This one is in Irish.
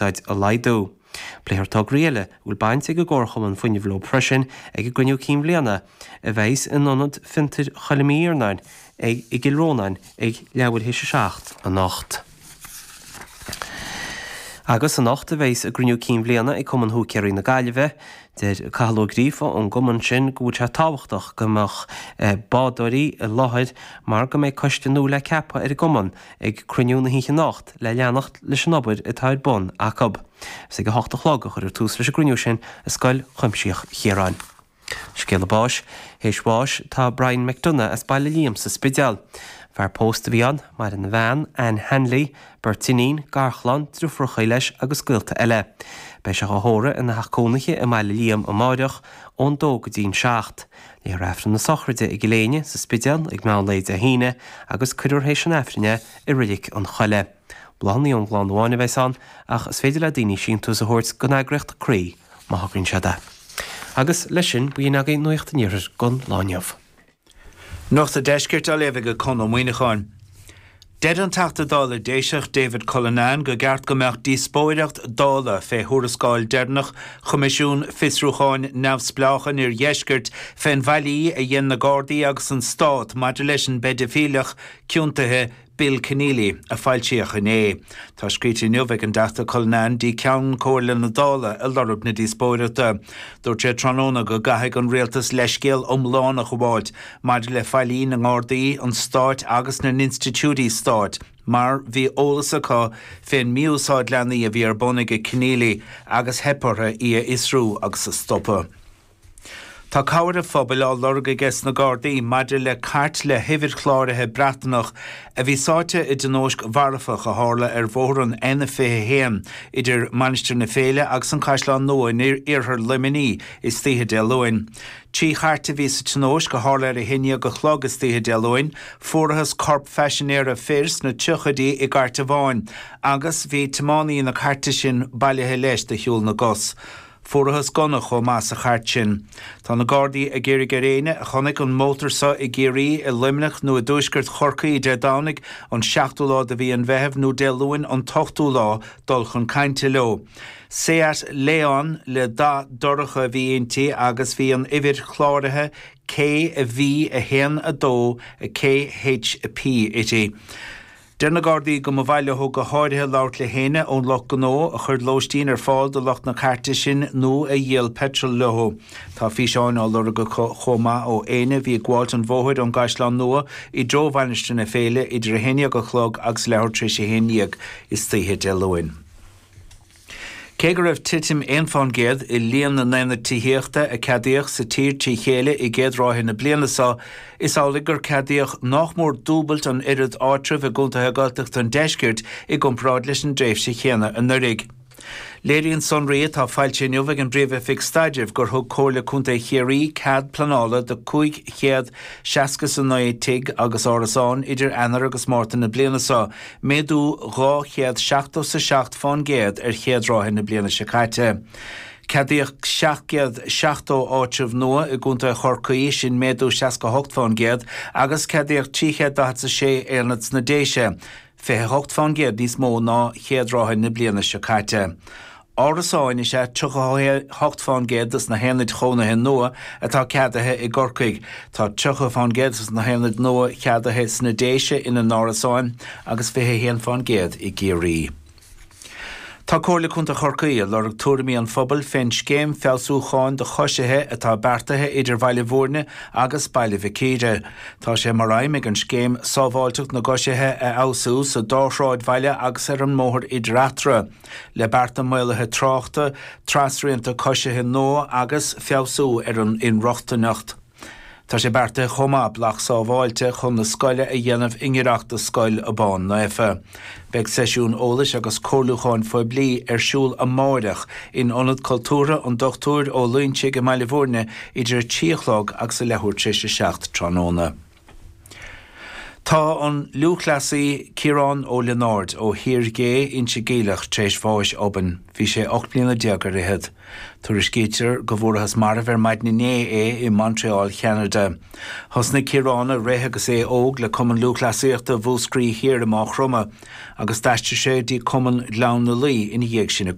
Úsáid a laghdú. Pléifear tograí eile a bhfuil baint ag an gComharchumann Fuinnimh leo freisin ag a gcruinniú cinn bhliana a bheas in Ionad Fiontair Choilm Uí Iarnáin i gCill Rónáin ag leathuair théis a 7 anocht. Agus anocht a bheas a gcruinniú cinn bhliana ag Cumann Húicéirí na Gaillimhe. Deir Cathal Ó Gríofa ón gcumann sin go bhfuil sé tábhachtach go mbeadh bádóirí i láthair mar go mbeidh coiste nua le ceapadh ar an gcumann ag cruinniú na hoíche anocht le leanacht leis an obair atá ar bun acu. Is ag a hocht a chlog a chuirfear tús leis an gcruinniú sin i Scoil Chuimsitheach Chiaráin. Scéala báis. Théis bháis tá Brian McDonagh as Baile Liam sa Spidéal. Fear pósta a bhí ann, maireann a bhean, Anne Hanley, beirt iníon, garchlann, driofúracha leis agus gaolta eile. Beidh sé á thórramh ina theach cónaithe i mBaile Liam amáireach ón dó go dtí'n 7. Léifear Aifreann na sochraide i gCill Éinne, sa Spidéal, ag meán lae Dé hAoine agus cuirfear théis an Aifrinn é i Reilig an Choilligh. Bláthanna ón gclann amháin a bheas ann ach is féidir le daoine síntiús a thabhairt don eagraíocht Croí má thograíonn siad é. Agus leis sin, b'in agaibh Nuacht an Iarthair don lá inniu. Nuacht an Deiscirt á léamh ag Conn Ó Muíneacháin. Deir an Teachta Dála Déiseach David Cullinane gur ceart go mbeadh díospóireacht Dála fé thuarascáil deireanach Choimisiún Fiosrúcháin Neamhspleách an Iardheiscirt fén bhfaillí a dhein na Gardaí agus an Stát maidir leis an bpeidifíleach ciontaithe Bill Kenneally, a foilsíodh inné. Tá scríte inniu ag an dTeachta Cullinane dtí Ceann Comhairle na Dála ag lorg na díospóireachta. Dúirt sé tráthnóna go gcaithfidh an Rialtas leithscéal iomlán a ghabháilt maidir le faillí na nGardaí, an Stáit agus na n-institiúidí stáit mar bhí eolas acu fén mí-úsáid leanaí a bhí ar bun aige Kenneally agus theip orthu í a fhiosrú agus a stopadh. Tá cabhair an phobail á lorg aige sna Gardaí maidir le cairt le huimhir chláraithe Breatnach a bhí sáite i dtionóisc mharfach a tharla ar bhóthar an N21 idir Mainistir na Féile agus an Caisleán Nua in iarthar Luimnigh istoíche Dé Luain. 3 chairt a bhí sa tionóisc a tharla ar a haon dhéag a chlog istoíche Dé Luain. Fuarathas corp phaisinéara fir sna tríochaidí i gcairt amháin agus bhí tiománaí na cairte sin bailithe leis de shiúl na gcos. Fuarathas gunna chomh maith sa chairt sin. Tá na Gardaí ag iarraidh ar éinne a chonaic an mótar seo i gCiarraí, i Luimneach nó i dtuaisceart Chorcaí Dé Domhnaigh an seachtú lá de mhí an Mheithimh nó Dé Luain an t-ochtú lá dul chun cainte leo. Seat Leon le dath dorcha a bhí inti agus bhí an uimhir chláraithe KV 1 2 KHP uirthi. Deir na Gardaí go mba mhaith leo go háirithe labhairt le héinne ón lucht gnó a chuir lóistín ar fáil do lucht na cairte sin nó a dhíol peitreal leo. Tá físeáin á lorg acu chomh maith ó éinne a bhí ag gabháilt an bhóthair ón gCaisleán Nua i dtreo Mhainistir na Féile idir 11 a chlog agus leathuair tar éis 11 istoíche Dé Luain. Cé go raibh titim 1% i líon na n-aonad tithíochta a ceadaíodh sa tír trí chéile i gcéad ráithe na bliana seo, is amhlaidh gur ceadaíodh nách mór dúbailt an oiread áitreabh i gcontaetha Gaeltachta an deiscirt i gcomparáid leis an dtréimhse chéanna anuraidh. Léiríonn sonraí atá foilsithe inniu ag an bPríomh-Oifig Staidrimh gur thug Comhairle Contae Chiarraí cead pleanála do 569 tigh agus árasán idir Eanáir agus Márta na bliana seo, méadú 277 fán gcéad ar chéad ráithe na bliana seo caite. Ceadaíodh 770 áitreabh nua i gContae Chorcaí, sin méadú 68 fán gcéad, agus ceadaíodh 346 aonad sna Déise, 28 fán gcéad níos mó ná chéad ráithe na bliana seo caite. Árasáin is ea 38 fán gcéad de na haonaid chónaithe nua atá ceadaithe i gCorcaigh. Tá 30 fán gcéad de na haonaid nua cheadaithe sna Déise ina n-árasáin agus 21 fán gcéad i gCiarraí. Tá Comhairle Contae Chorcaí ag lorg tuairimí an phobail fén scéim feabhsúcháin do choisithe atá beartaithe idir Bhaile Bhúirne agus Baile Mhic Íre. Tá sé mar aidhm ag an scéim sábháilteacht na gcoisithe a fheabhsú sa dá shráidbhaile agus ar an mbóthar idir eatarthu. le bearta maolaithe tráchta, trasrianta coisithe nua agus feabhsú ar an inrochtaineacht. Tá sé beartaithe chomh maith bealach sábháilte chun na scoile a dhéanamh i ngiorracht do Scoil Abán Naofa. Beidh seisiún eolais agus comhairliúcháin phoiblí ar siúl amáireach in Ionad Cultúrtha an Dochtúir Ó Loingsigh i mBaile Bhúirne idir a 3 a chlog agus a leathuair tar éis a 7 tráthnóna. Tá an lúthchleasaí Ciarán Ó Lionáird ó Thír Gé, Inse Geimhleach, tar éis bháis obann. Bhí sé 18 bliana ar fhichead. Tuairiscítear go bhfuarathas marbh ar maidin inné é i Montreal, Cheanada. Thosnaigh Ciarán ag rith agus é óg le Cumann Lúthchleasaíochta Mhúscraí Thiar i Máigh Chromtha agus d'aistrigh sé dtí Cumann Ghleann na Laoi ina dhiaidh sin.